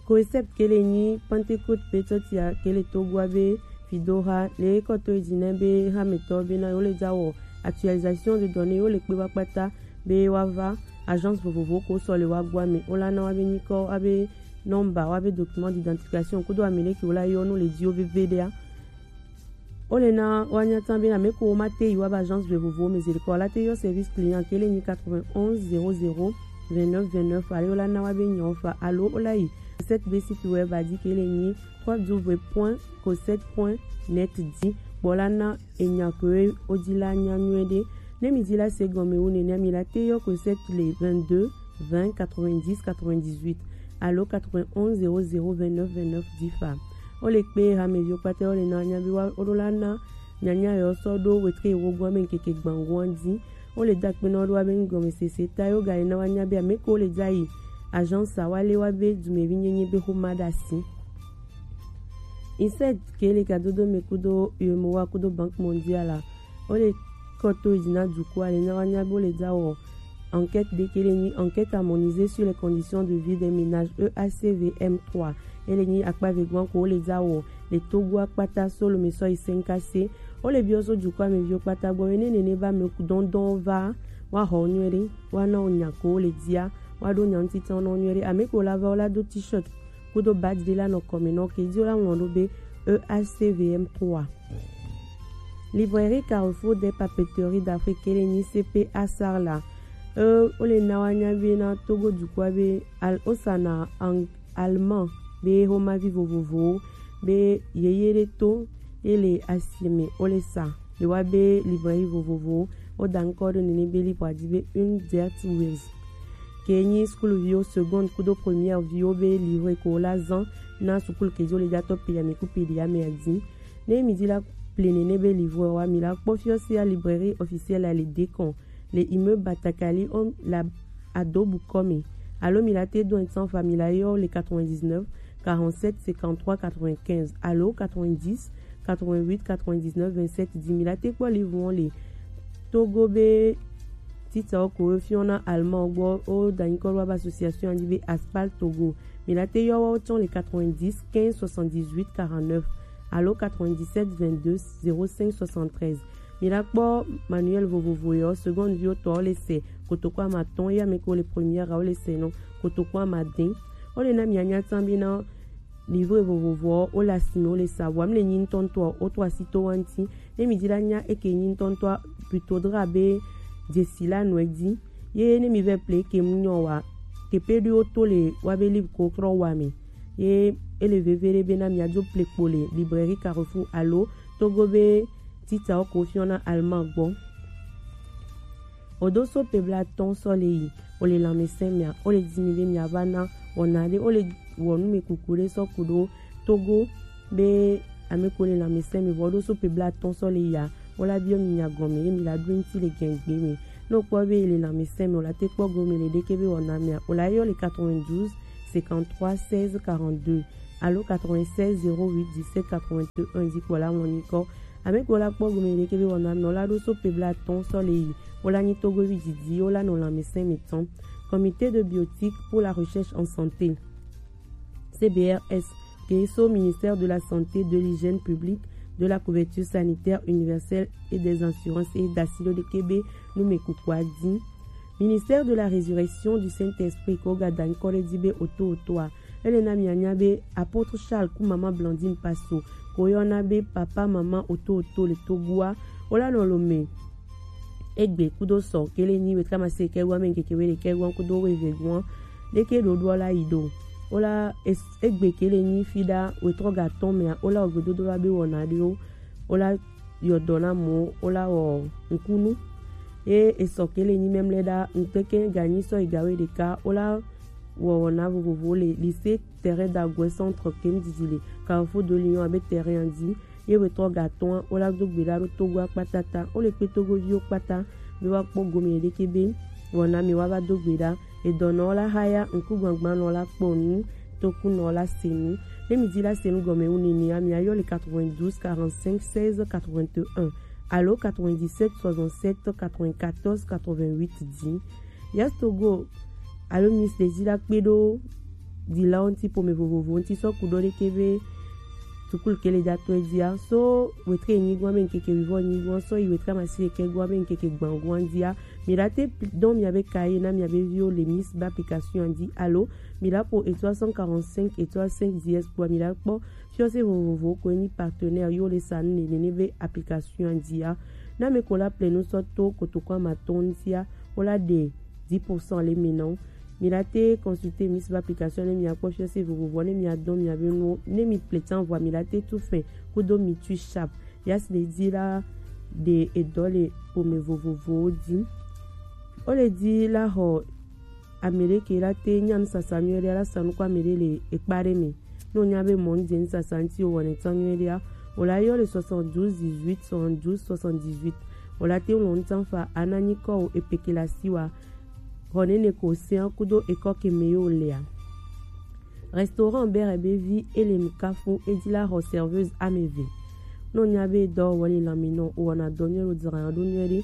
Concept ke le nyi Pentecôte be tɔtia ke le Togoa be fidoha le kɔtɔ yi dzi na be hametɔ be na yo le dza wɔ actualisation de données yo le kpe wa kpata be wa va agence vovovo ko sɔ le wa gbɔ ame. Wo la na wa be nyikɔ, wa be nɔmba, wa be document d'identification kudo ame ɖe ke wo la yɔ nu le dzi wo veve ɖea. Wo le na wa nya tan be ame ko wo ma te yi wa ba agence vovovo me zelikɔ la te yɔ service client ke le nyi quatre-vingt-onze zéro zéro vingt-neuf vingt-neuf, ale wo la na wa be nyawo fa alo wo la yi Cosette be site web a dzi ke le nyi trois w point cosette point net dzi kpɔ la na enya ko wo dzi la nya nyuie ɖe. Ne mi dzi la se gɔme wu nene mi la te yɔ Cosette le vingt-deux vingt quatre-vingt-dix quatre-vingt-dix-huit alo quatre-vingt-onze zéro zéro vingt-neuf vingt-neuf dzi fa. Wo le kpe hameviwo kpata wo le na nya be wa wo ɖo la na nyanya yɔ sɔ ɖo wetre wo gbɔ ame nkeke gbangɔn dzi. Wo le da kpe na wo ɖo wa be nugɔmesese ta yo ga le na wa nya be ame ko wo le dza yi agence a wa le wa be dumevi nyenye be xoma ɖe asi. Inside ke le gadodo me kudo U M O A kudo Banque Mondiale a, wo le kɔto yi dzi na duku a le na wa nya be wo le dza wɔ enquête ɖe ke le nyi enquête harmonisée sur les conditions de vie des ménages, E A C V M trois. E le nyi akpa ve gɔn ko wo le dza wɔ le Togo a kpata so lome sɔ yi Senkase. Wo le biɔ so dukɔ ameviwo kpata gbɔ be ne nene ba me dɔndɔn va wa xɔ nyuie ɖe, wa na wo nya ko wo le dia, wa ɖo nya ŋuti tɔn nɔ nyuie ɖe. Ame ko la va wo la do t-shirt kudo badge ɖe la nɔ kɔme nɔ ke dzi wo la ŋlɔ ɖo be E A C V M trois. Librairie Carrefour des Papeteries d'Afrique ke le nyi C P A Sarla. E, wo le na wa nya be na Togo dukɔa be al-, wo sa na ang-, allemand be xomavi vovovowo be yeye ɖe to ye le asime wo le sa le wa be librairie vovovowo. Wo da ŋkɔ ɖo nene be librairie dzi be Une Dirt Wheels. Ke nyi sukuluviwo seconde kudo première viwo be livre ko wo la zan na sukulu ke dzi wo le dza tɔ pili ame ku pili ame a dzi. Ne mi dzi la plenene be livre wa mi la kpɔ fiɔ sia librairie officielle à l'idée con le immeuble Batakali om la adobu kɔmi. Alo mi la te do en fa mi la yɔ le quatre-vingt-dix-neuf quarante-sept cinquante-trois quatre-vingt-quinze alo quatre-vingt-dix quatre-vingt-huit quatre-vingt-dix-neuf vingt-sept dix mi la te kpɔ livre le Togo be tita o ko fiɔ na Allemagne gbɔ o danyi kɔ wa ba association andi be Aspal Togo. Mi la te yɔ wa o tɔn le quatre-vingt-dix quinze soixante-dix-huit quarante-neuf alo quatre-vingt-dix-sept vingt-deux zéro cinq soixante-treize. Mi la kpɔ manuel vovovo yɔ seconde vie o tɔ o le se kotoko ama tɔn ya me ko le première o le se nɔ kotoko ama den. O le na mi anya tan bi na livre vovovo o le asime o le sa vɔ mi le nyi ŋutɔŋutɔ o to asi to wa ŋuti. Ne mi di la nya eke nyi ŋutɔŋutɔ plutôt dra be dzesi la nɔ edi. Ye ne mi vɛ ple ke mu nyɔ wa tepe ɖo to le wa be livre ko trɔ wa mi. Ye ele veve ɖe be na mi adzo ple kpo le librairie Carrefour alo Togo be tita o ko fiɔ na Allemagne gbɔ. O do so pe bla tɔn sɔ le yi o le lanmɛsɛn mia o le di mi be mia va na wɔna ɖe o le wɔ nu me kuku ɖe sɔ ku ɖo Togo be ame ko le lanmɛsɛn mi vɔ o do so pe bla tɔn sɔ le yi a o la biɔ mi nya gɔme ye mi la ɖo ŋuti le gɛngbe me. Ne o kpɔ be le lanmɛsɛn me o la te kpɔ gɔme le ɖeke be wɔna mia o la yɔ le quatre-vingt-douze cinquante-trois seize quarante-deux alo quatre-vingt-seize zéro huit dix-sept quatre-vingt-un dzi kpɔ la ŋɔ nyikɔ. Ame ko la kpɔ gome ɖeke be wɔna mɛ o la ɖo so pe bla tɔn sɔ le yi o la nyi Togovi didi o la nɔ lanmɛsɛn mi tɔn. Comité de biotique pour la recherche en santé, C B R S, ke so ministère de la santé, de l'hygiène publique, de la couverture sanitaire universelle et des assurances e dasi ɖo ɖeke be nu me kukua di. Ministère de la résurrection du Saint-Esprit ko ga da nyikɔ ɖe di be oto otoa Ele na mianya be apôtre Charles ku maman Blandine Paso ko yɔna be papa maman oto oto le Togoa. Wola nɔ lome egbe kudo sɔ kele nyi wetamase kɛgua me ŋkeke we le kɛgua kudo we vegua. Ɖeke ɖoɖoa la yi ɖo. Wola es- egbe kele nyi fi ɖa wetrɔ ga tɔn mea wola ogbedodo la be wɔna ɖewo. Wola yɔdɔ na mɔ wola wɔ ŋkunu. Ye esɔ kele nyi mɛmlɛ ɖa ŋkeke ga nyi sɔ yi ga we ɖeka wola wɔ wɔna vovovo le lycée terrain d'Aguet centre kem didi le Carrefour de Lyon abe terrain dzi. Ye wetɔ ga tɔn wola do gbe ɖa ɖo Togo akpata ta. Wole kpe Togoviwo kpata be woakpɔ gome ɖeke be wɔna mi woava do gbe ɖa. Edɔnɔ la haya ŋkugbagbanɔ la kpɔ nu tokunɔ la se nu. Ne mi di la se nu gɔme wu nini a mi ayɔ le quatre-vingt-douze quarante-cinq seize quatre-vingt-un alo quatre-vingt-dix-sept soixante-sept quatre-vingt-quatorze quatre-vingt-huit dzi. Yes Togo alo Miss Daisy la kpe ɖo dilawo ŋuti ƒome vovovo ŋuti sɔ ku ɖɔ ɖeke be sukulu ke le dza tɔe dzia so wetre enyi gɔa be ŋkeke wivɔ enyi gɔa sɔ yi wetre amasi ɖekɛ gɔa be ŋkeke gbã gɔa dzia mi la te dɔn mia be ka ye na mia be viwo le Miss be application dzi alo mi la ƒo étoile cent quarante-cinq étoile cinq dièse kpoa mi la kpɔ fiɔse vovovowo ko enyi partenaire yo le sa nu nene be application dzia. Na me ko la ple nu sɔ to kotoko amatɔn ŋutia wola ɖe dix pour cent le mi nɔ. Mi la te consulter Miss be application ne mi akpɔ fiɔse vovovo ne mi adɔn mi abe nuwo ne mi ple tsan vɔa mi la te tu fin kudo mi tu sharp. Ya si le di la ɖe edɔ le ƒome vovovowo di. Wo le di la xɔ ame ɖe ke la te nya nusasa nyuie ɖe la sa nu kɔ ame ɖe le ekpa ɖe me. Ne wonya be mɔ nu dze nusasa ŋuti wowɔ nɛ tsan nyuie ɖea, wola yɔ le soixante-douze dix-huit soixante-douze soixante-dix-huit. Wola te ŋlɔ nu tsan fa ana nyikɔ wo epeke le asi wa. Xɔ nene ko osea kudo ekɔ ke me ye wolea. Restaurant Bere be vi ele nukafu edi la xɔ serveuse ame eve. Ne wonya be dɔ wɔ le lãme nɔ wowɔna dɔ nyuie ɖo dzra ɖo nyuie ɖe.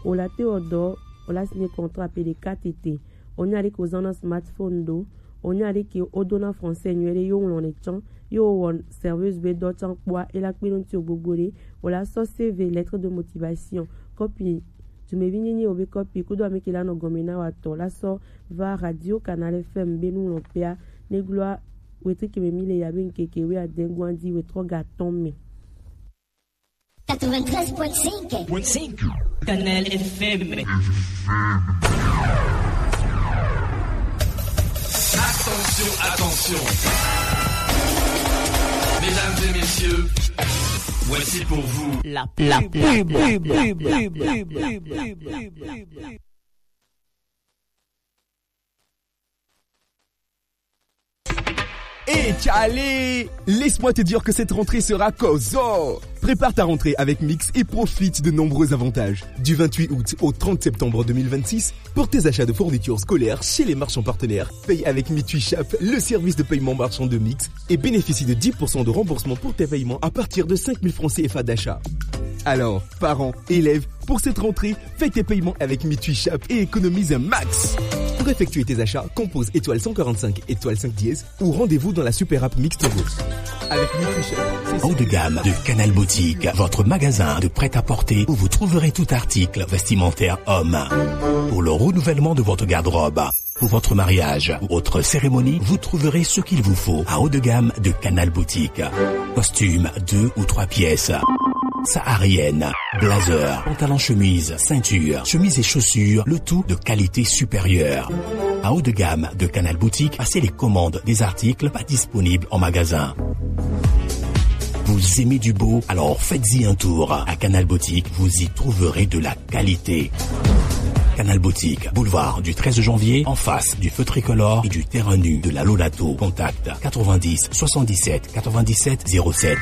Wola te wɔ dɔ wola signer contrat pe ɖeka tete. Wonya ɖe ke wozãna smartphone ɖo. Wonya ɖe ke wodona français nyuie ɖe ye woŋlɔnɛ tsã ye wowɔ serveuse be dɔ tsã kpɔa ela kpe ɖo ŋuti wo gbogbo ɖe. Wola sɔ C V, lettre de motivation, kɔpi dumevi nyenye wo be kɔpi kudo ame ke la nɔ gɔme na wa tɔ la sɔ va radio Canal F M be nuŋlɔkpea ne gloa wetri ke me mi le ya be ŋkeke wuiade gɔa dzi wetrɔ ga tɔn me. Quatre-vingt-treize point cinq. Canal F M. Attention, attention. Mesdames et messieurs, voici pour vous la pub. Et Charlie, laisse-moi te dire que cette rentrée sera Kozo. Prépare ta rentrée avec Mix et profite de nombreux avantages. Du vingt-huit août au trente septembre deux mille vingt-six, pour tes achats de fournitures scolaires chez les marchands partenaires, paye avec Mitui Shop, le service de paiement marchand de Mix, et bénéficie de dix pour cent de remboursement pour tes paiements à partir de cinq mille francs C F A d'achat. Alors, parents, élèves, pour cette rentrée, fais tes paiements avec Mitui Shop et économise un max. Pour effectuer tes achats, compose étoile cent quarante-cinq étoile cinq dièse ou rendez-vous dans la super app Mix Togo. Avec Mitui Shop, c'est Haut de gamme de Canal Boutique, votre magasin de prêt-à-porter où vous trouverez tout article vestimentaire homme. Pour le renouvellement de votre garde-robe, pour votre mariage ou autre cérémonie, vous trouverez ce qu'il vous faut à Haut de gamme de Canal Boutique. Costume deux ou trois pièces, saharienne, blazer, pantalon chemise, ceinture, chemise et chaussures, le tout de qualité supérieure. À Haut de gamme de Canal Boutique, passez les commandes des articles pas disponibles en magasin. Vous aimez du beau ? Alors faites-y un tour. À Canal Boutique, vous y trouverez de la qualité. Canal Boutique, boulevard du treize janvier, en face du feu tricolore et du terrain nu de la Lolato. Contact quatre-vingt-dix soixante-dix-sept quatre-vingt-dix-sept zéro sept.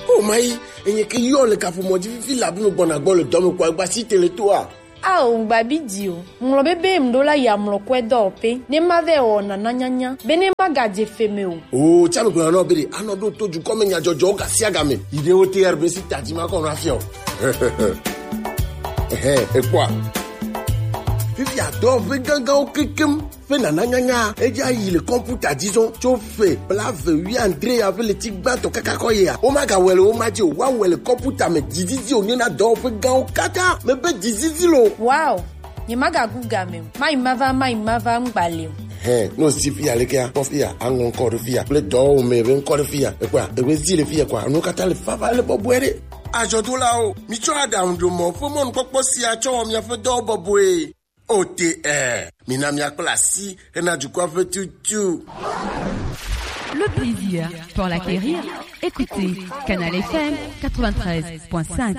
O mayi, enye ke yɔ le kaƒomɔ dzi fifi labe me gbɔna gbɔ le dɔ me kpɔ agba si tele toa. Ao, ŋgbabi di o. Ŋlɔ be be ŋɖo la ya mlɔ kɔe dɔwɔƒe, ne ma vɛ wɔ nana nyanya, be ne ma gadze fe me o. O, tsa me gblɔna nɔ be ɖe, anɔ ɖo to dukɔ me nyadzɔdzɔwo gasiagame. Yi ɖe wo T R B si tadi ma kɔ nɔ afia o. Ehe, ekpɔa. Fifia dɔwɔƒe gãgãwo kekem. Ƒe nana nyanya, edza yi le kɔmputa dzi zɔn tso ƒe blaeve wuiadre ya ƒe ɣleti gbãtɔ kaka kɔ yia. Womagawɔe le wo ma dzi o, woawɔe le kɔmputa me. Dzizizi wònye na dɔwɔƒe gãwo katã. Mebe dzizizi lo. Wow! Nyemagagu game o. Mayi mava, mayi mava ŋgba le o. Hɛn, ne wòsi fiya lekea, kpɔ fiya, aŋlɔ ŋkɔ ɖe fiya kple dɔwɔwɔme ƒe ŋkɔ ɖe fiya. Ekpɔa, ewe zi le fiya kɔa, enuwo katã le vava le bɔbɔe ɖe. Azɔdolawo, mitsɔ aɖaŋuɖomɔ ƒe mɔnukpɔkpɔ sia tsɔ wɔ miaƒe dɔwo bɔbɔe. O T R, mina míakpla asi hena dukɔa ƒe tutu. Le plaisir pour l'acquérir, écoutez Canal F M quatre-vingt-treize point cinq.